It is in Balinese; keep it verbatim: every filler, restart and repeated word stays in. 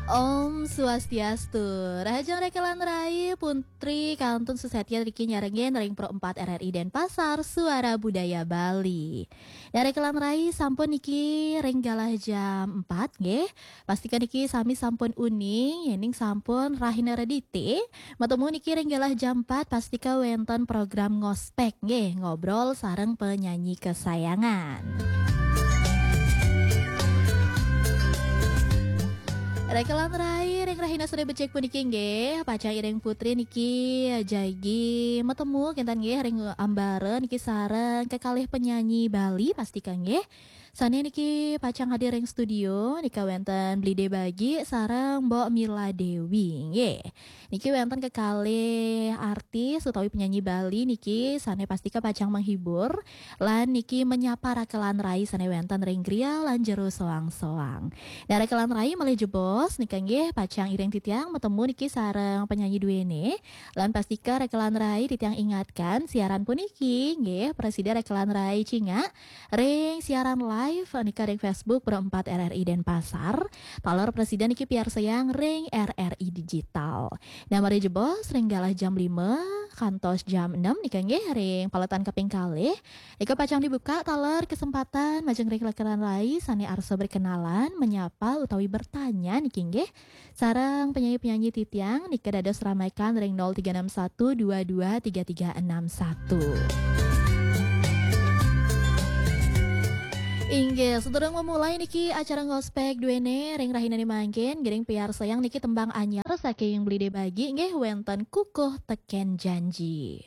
Om Swastiastu. Rahajeng rekelan rai, Putri kantun sesatia niki nyarengin ring Pro empat R R I Denpasar, Suara Budaya Bali. Nah, rekelan rai, sampun niki ring galah jam empat nggih. Pastika niki sami sampun uning, yening sampun rahina redite. Matemu niki ring galah jam empat, pastika wenten program ngospek nggih, ngobrol sareng penyanyi kesayangan. Rekelan rai, ring rahina sore becik puniki nggih, pacang iring Putri niki jagi matemu kenten nggih ring ambara niki sareng kekalih penyanyi Bali, pastika nggih. Sane niki pacang hadir ring studio nika wenten Blide Bagi sareng Mbok Mila Dewi nggih. Niki wenten kekalih artis utawi penyanyi Bali niki sane pastika pacang menghibur lan niki menyapa rekelan rai sane wenten ring griya lan jero soang-soang. Nah, rekelan rai malih jebos nika nggih pacang iring titiang matemu niki sareng penyanyi duene. Lan pastika rekelan rai titiang ingatkan siaran puniki nggih prasida rekelan rai cingak ring siaran live nika ring Facebook Pro empat R R I Denpasar. Taler prasida niki piarsayang ring R R I Digital. Nah, malih jebos ring galah jam lima kantos jam enam nika nggih ring paletan kaping kalih. Nika pacang dibuka taler kesempatan majeng ring rekelan rai sane arsa berkenalan, menyapa utawi bertanya niki nggih. Sareng penyanyi-penyanyi titiang nika dados ramaikan ring nol tiga enam satu dua dua tiga tiga enam satu. Inggih, sedurung memulai niki acara ngospek duene ring rahinane mangkin, ngiring piarsayang niki tembang anyar saking Blide Bagi nggih wenten Kukuh Teken Janji.